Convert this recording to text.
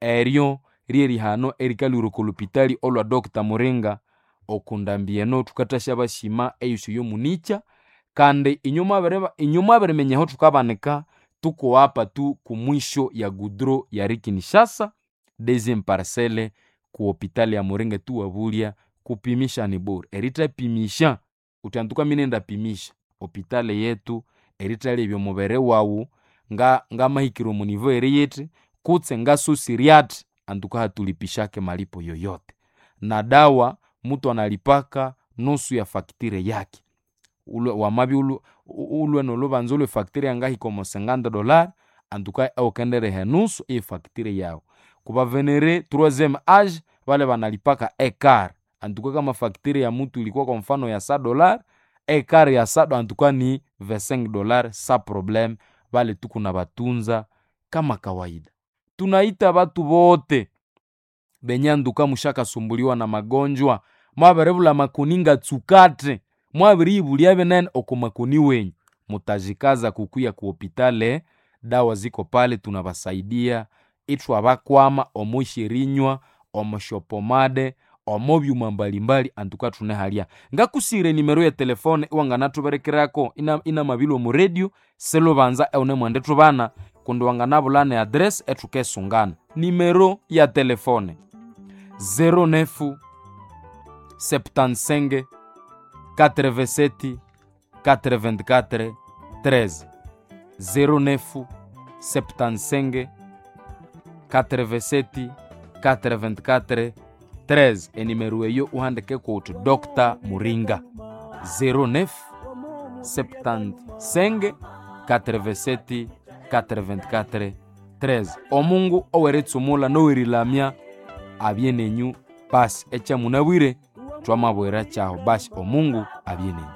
Eryo ryerihano erikalwira oko lupitali olwa Dr. Muringa. Oku ndambi eno thukathasya basima eyusi yomunikya, kandi inywe mwabiriminya aho thukabanika, tukuwapa tu kumwisho ya gudro ya Kinshasa, deuxième parcelle ku hopitali ya Muringa tuwabulya kupimisha ni bure. Erithapimisha uthi antuka minendapimisha hopitali yetu erithalebya omubiri wawu ngamahikira omu nivo eriyithi kutse ngasosire athi antuka hatulipishake malipo yoyote. Na dawa mutu analipaka nusu ya facture yake. Wamabya ulwe nolhubanza olwe facture yangahika omo $50 antuka iwukendireha enusu eye facture yawu. Kubavenere troisième age bale banalipaka ekara, antuka kama facture ya mutu ilikuwa kwa mfano ya $100, ekara ya antuka ni $25 sa probleme, bale tukunabatunza kama kawaida. Tunaita batu bote benye antuka mushakasumbuliwa na magonjwa, mwabiribulha makoni ngatsukate, mwabiriyibulya binene oko makoni wenyu, mutajikaza kukuya ku hopitale, dawa ziko pale tunabasaidia ithwabakwama omo syerinywa, omo syopomade, omo byuma mbalimbali antuka thunehalya. Ngakusire enimero ye telefone iwanganathuberekerako inamabilwa omu radio silubanza ewunemwendithubana kundi wanganabulha ne address ethukesungana. Nimero ya telefone 09 75 87 84 13, 09 75 87 84 13. Enimero eyo uhandikeko uthi Dr. Muringa 09 75 87 84 13. Omungu oweritsumula nowerilamya abye nenyu basi ekyamunabwire twamabwira kyaho basi omungu abye nenyu.